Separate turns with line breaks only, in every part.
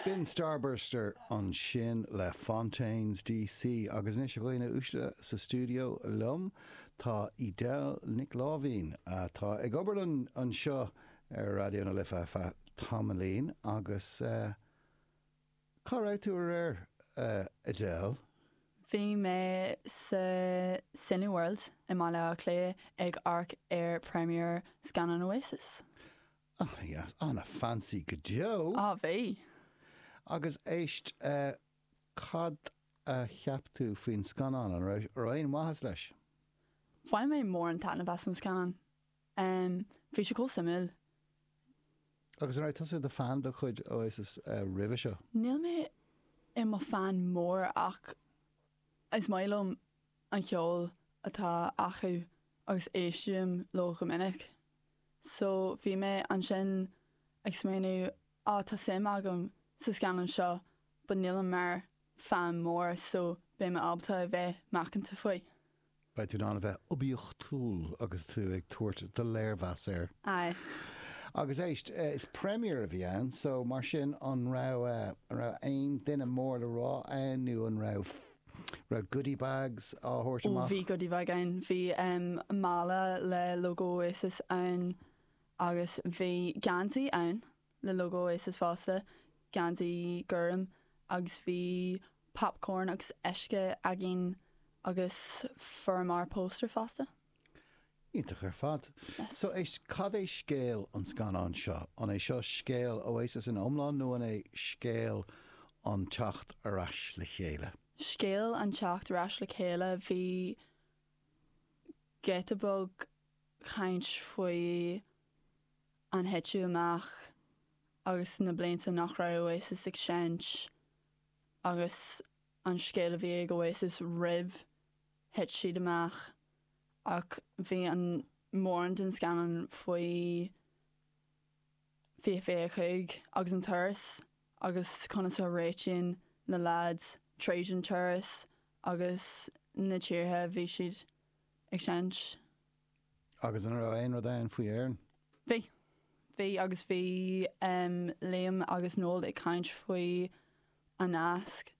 B'in Starburster ansin le Fontaines DC agus anois a dhaoine uaisle sa stiúideo liom tá Edel Nic Láimhín atá ag obair anseo ar Raidió na Life ar feadh tamaillín agus cá raibh tú aréir a Edel?
Bhí mé sa Cineworld i mBaile Átha Cliath ag amharc ar premiere scannán Oasis.
Ana-dheas, ana-fancy go deo!
Á, bhí.
Agus éist, cad a cheap tú faoin scannán? An raibh aon mhaitheas leis?
Bhain mé mórán taitneamh as an scannán. Bhí sé chomh suimiúil.
Agus an raibh tusa i do fan de chuid Oasis roimhe seo?
Níl mé i mo fan mór ach is maith liom an cheol atá acu agus éistím leo go minic. So bhí mé ansin ag smaoineamh, á tá suim agam sa scannán seo but nílim mar fan mór so beidh mé ábalta a bheith macánta faoi.
Beidh tú in ann a bheith oibiachtúil agus tú ag tabhairt do léirmheas air.
Aye.
Agus éist, is premiere a bhí ann so mar sin an raibh, an raibh aon duine mór le rá ann nó an raibh raibh goodie bags á thabhairt
Ó
amach?
bhí goodie bag ann. Bhí mála le logo Oasis ann agus bhí geansaí ann le logo Oasis fosta, geansaí gorm agus bhí popcorn agus uisce againn agus fuaireamar póstaer fosta.
Iontach ar fad.
Yes.
So éist, cad é scéal an scannáin seo? An é seo scéal Oasis ina iomlán nó an é scéal an teacht ar ais le chéile?
Scéal an teacht ar ais le chéile, bhí giota beag caint faoi an thiteadh amach agus na blianta nach raibh Oasis ag seinnt agus an scéal a bhí ag Oasis roimh thit siad amach ach bhí an mórán den scannán faoi 2025 agus an turas agus conas a réitíonn na leaids tríd an turas agus na tíortha a bhí siad ag seinnt.
Agus an raibh aon rud ann faoi Éirinn?
Bhí. Bhí agus bhí Liam agus Noel ag caint faoi a nasc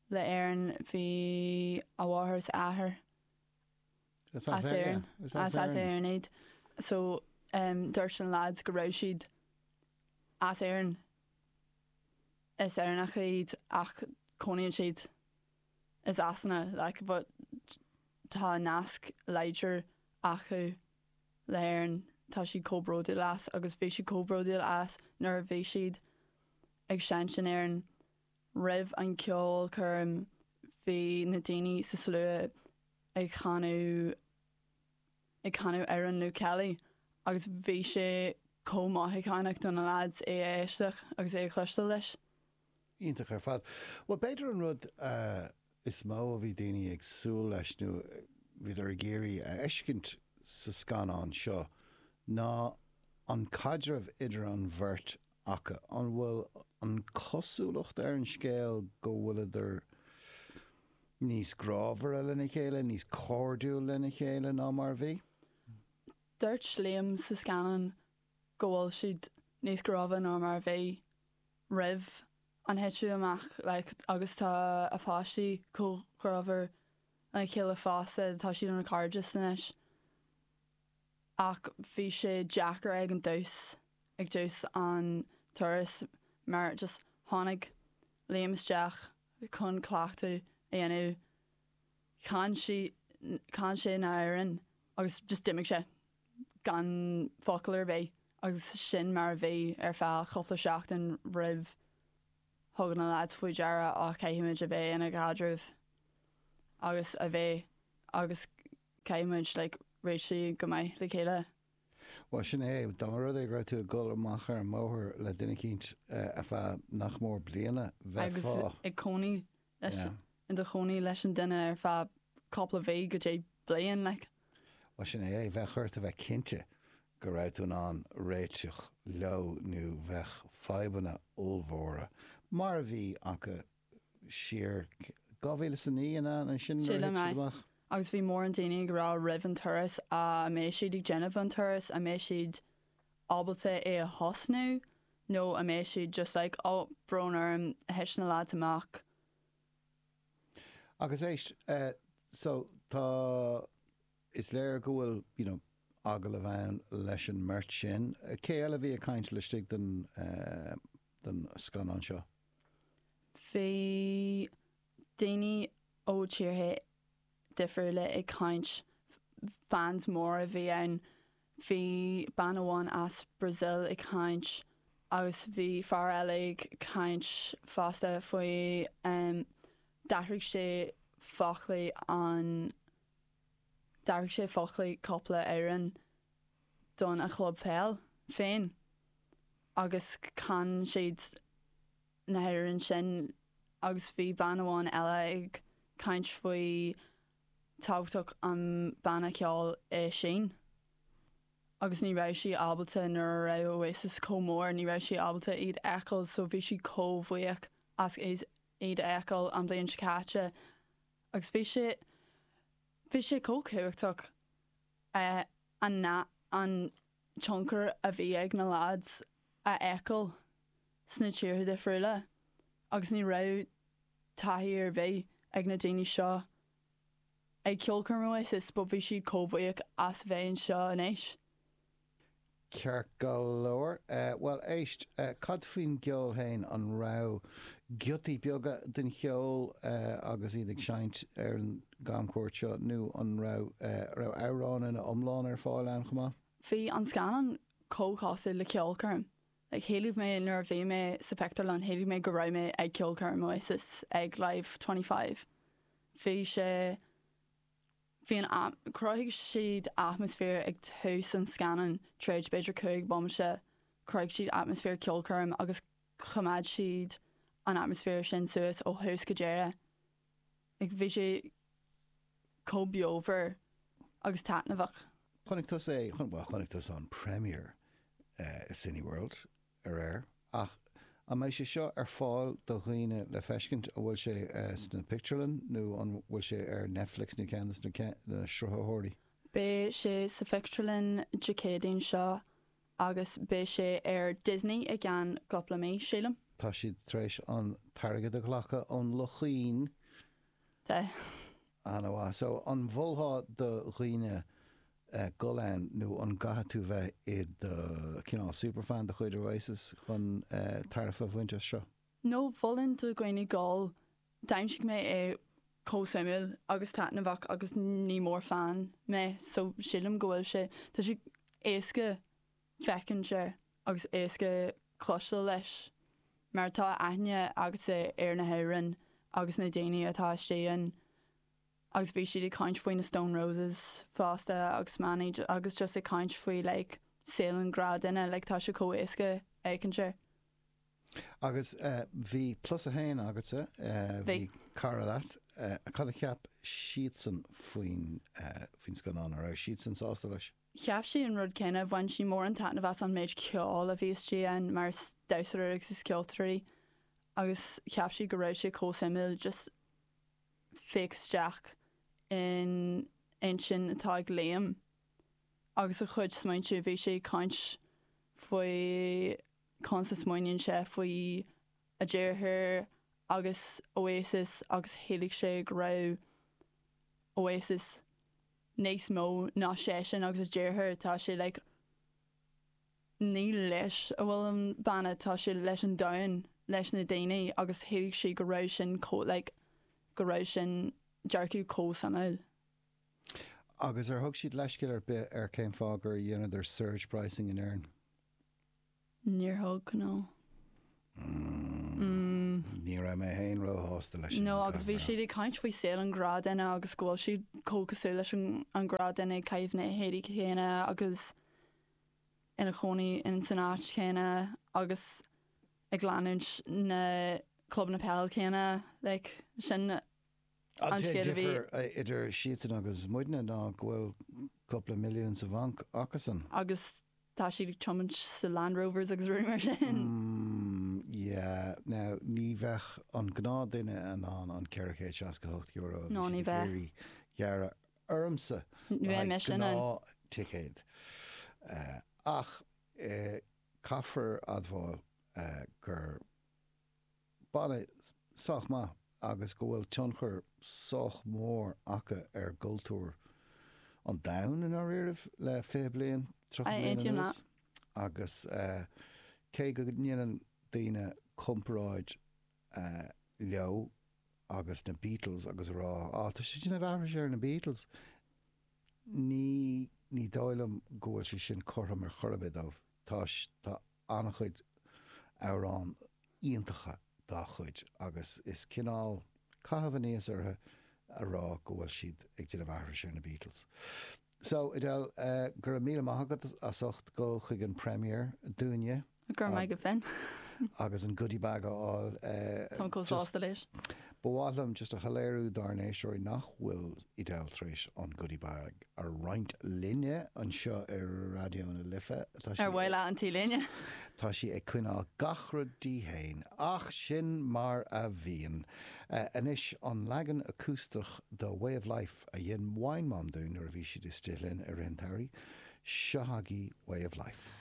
le Éirinn. Bhí a mháthair is a athair
as Éirinn.
As Éirinn iad. So dúirt na lads go raibh siad as Éirinn. Is Éireannacha iad ach cónaíonn siad i Sasana like but tá nasc láidir acu le hÉirinn. Tá siad chomh bródúil as agus bhí siad chomh bródúil as nuair a bhí siad ag seinnt in Éirinn. Roimh an ceolchoirm bhí na daoine sa slua ag chanadh ag canadh amhrán Luke Kelly agus bhí sé chomh mothúchánach do na lads é a éisteacht agus é a chloisteáil leis.
Iontach ar fad. Bhuel b'fhéidir an rud is mó a bhí daoine ag súil leis nó bhíodar ag iarraidh a fheiscint sa scannán seo ná an caidreamh idir an bheirt acu. An bhfuil an chosúlacht ar an scéal go bhfuileadar níos grámhaire lena chéile, níos cairdiúil lena chéile ná mar a bhí?
Dúirt Liam sa scannán go bhfuil siad níos grámhaire ná mar a bhí roimh an thiteadh amach like agus tá a pháistí chomh grámhar lena chéile fosta, tá siad ina cairde anois. Ach bhí sé deacair ag an dtús, ag dtús an turas mar just tháinig Liam isteach chun cleachtadh a dhéanamh, chan sí, chan sé na hamhráin agus just d'imigh sé gan focal ar bith agus sin mar a bhí ar feadh cúpla seachtain roimh thug na lads faoi deara á caithfimid a bheith ina gcaidreamh agus a bheith agus Caithfidh muid like réitigh go maith le chéile.
Bhuel, sin é. Dá mba rud é go raibh tú ag dul amach ar an mbóthar le duine eicínt ar feadh nach mór bliana,
bheifeá. Agus ag cónaí leis, i do chónaí leis an duine ar feadh cúpla mhí go dtí bliain, like.
Bhuel, sin é. Bheadh ort a bheith cinnte go raibh tú in ann réiteach leo nó bheadh fadhbanna ollmhóra, mar a bhí acu siar 2009 an ea sin nuair a
Sílim
thit siad
é.
amach?
Agus bhí mórán daoine ag rá roimh an turas an mbeidh siad ag déanamh an turas, an mbeidh siad ábalta é a thosnú? nó an mbeidh siad just like oh brón orm thit na lads amach.
Agus éist, so tá, is léir go bhfuil you know agallamh ann leis an mbeirt sin. Cé eile a bhí ag caint laistigh den den scannán seo?
Bhí daoine ó tíortha difriúla ag caint, fans móra a bhí ann. Bhí bean amháin as Brazil ag caint agus bhí fear eile ag caint fosta faoi d'athraigh sé foclaí an d'athraigh sé foclaí cúpla amhrán don a chlub peil féin agus chan siad na hamhráin sin agus bhí bean amháin eile ag caint faoi tábhachtach an banna ceoil i Sín agus ní raibh sí ábalta nuair a raibh Oasis chomh mór ní raibh sí ábalta iad a fheiceáil so bhí sí chomh bhuíoch as iad a fheiceáil an bhliain seo caite agus bhí sé bhí sé chomh cumhachtach an an tionchar a bhí ag na lads a fheiceáil sna tíortha difriúla agus ní raibh taithí ar bith ag na daoine seo ag ceolchoirm Oasis but bhí siad chomh buíoch as bheith anseo anois.
Ceart go leor. Bhuel, éist, cad faoin gceol féin? An raibh giotaí beaga den cheol agus iad ag seinnt ar an gcamchuairt seo nó an raibh raibh amhráin ina iomlán ar fáil ann chomh maith?
Bhí an scannán chomh cosúil le ceolchoirm. Like, shíl mé nuair a bhí mé sa phictiúrlann, shíl mé go raibh mé ag ceolchoirm Oasis ag Live 25. Bhí sé, bhí an, chruthaigh siad atmaisféar ag tús an scannáin, tar éis b'fhéidir 5 bomaite, chruthaigh siad atmaisféar ceolchoirm agus choimeád siad an atmaisféar sin suas ó thús go deireadh. Like, bhí sé chomh beomhar agus taitneamhach.
Chonaic tusa é, bhuel, chonaic tusa an premiere i Cineworld aréir, ach an mbeidh sé seo ar fáil do dhaoine le feiscint? An bhfuil sé sna pictiúrlann nó an bhfuil sé ar Netflix nó ceann de na sruthaitheoirí?
Beidh sé sa phictiúrlann Dé Céadaoin seo agus beidh sé ar Disney i gceann cúpla mí, sílim.
Tá siad tar éis an t-airgead a ghlacadh ón luchín.
Tá.
Ana-mhaith. So, an mholfá do dhaoine dul ann nó an gcaithfidh tú bheith i do chineál superfan de chuid Oasis chun tairbhe a bhaint as seo?
No, mholfainn do dhaoine dul. D'aimsigh mé é chomh suimiúil agus taitneamhach agus ní mór-fan mé so sílim go bhfuil sé, tá sé éasca féachaint air agus éasca cloisteáil leis mar tá aithne agatsa ar na hamhráin agus na daoine atá istigh ann agus bhí siad ag caint faoi na Stone Roses fosta agus Mani agus just ag caint faoi like saol an gnáthdhuine like tá sé chomh éasca féachaint air.
Agus bhí plus a haon agatsa, bhí cara leat, cad a cheap siadsan faoin faoin scannán, an raibh siadsan sásta leis?
Cheap sí an rud céanna, bhain sí mórán taitneamh as an méid ceoil a bhí istigh ann mar is damhsóir agus is ceoltóir í agus cheap sí go raibh sé chomh suimiúil just féach isteach in intinn atá ag Liam agus a chuid smaointe, bhí sé ag caint faoi conas a smaoiníonn sé faoi a dheartháir agus Oasis agus shíl sé go raibh Oasis níos mó ná seisean agus a dheartháir, tá sé like ní leis a bhfuil an banna, tá sé leis an domhan, leis na daoine agus shíl sí go raibh sin chomh like go raibh sin dearcadh chomh suimiúil.
Agus ar thug siad leithscéal ar bith ar cén fáth gur dheineadar surge pricing in Éirinn?
Níor thug, no.
Ní raibh mé féin róshásta leis sin.
No, agus bhí siad ag caint faoi saol an ghnáthdhuine agus go bhfuil siad chomh cosúil leis an ghnáthdhuine ag caitheamh na héadaí céanna agus ina chónaí in san áit chéanna agus ag leanúint na clubanna peile céanna, like, sin
An t-aon difear idir siadsan agus muidne ná go bhfuil cúpla milliún sa bhanc acusan.
Agus tá siad ag tiomáint sa Land Rovers agus rudaí mar sin.
Mm, yeah. Now, ní bheadh an gnáthduine in ann an €468 a
bhí siad ag iarraidh
gearradh ormsa le haghaidh gnáth-ticéad. Ach caithfear admháil. gur banna sách maith agus go bhfuil tionchar sách mór acu ar gcultúr an domhain i ndáiríribh le 20 bliain, 30 bliain
Aontaím
anuas.
leat.
Agus cé go ndéanann daoine comparáid leo agus na Beatles agus a rá, á, tá siad ag déanamh aithris ar na Beatles, ní, ní dóigh liom go bhfuil sé sin cothrom ar chor ar bith dóibh. Tá, tá an-chuid amhrán iontacha dá chuid agus is cineál caitheamh aníos orthu a rá go bhfuil siad ag déanamh aithris ar na Beatles. So, Edel, go raibh míle maith agat as ucht dul chuig an premiere dúinne.
Go raibh maith agat Finn.
Agus an goodie bag a fháil.
Táim chomh sásta leis.
Ba mhaith liom just a shoiléiriú dár n-éisteoirí nach bhfuil Edel tar éis an goodie bag a roinnt linne anseo ar Raidió na Life.
Tá sí Ar mhaith leat an T-léine?
Tá sí ag coinneáil gach rud di fhéin, ach sin mar a bhíonn. Anois, an leagan acústach de Way of Life a dhein Wine Mom dúinn nuair a bhí siad istigh linn i rith an tsamhraidh, seo agaibh Way of Life.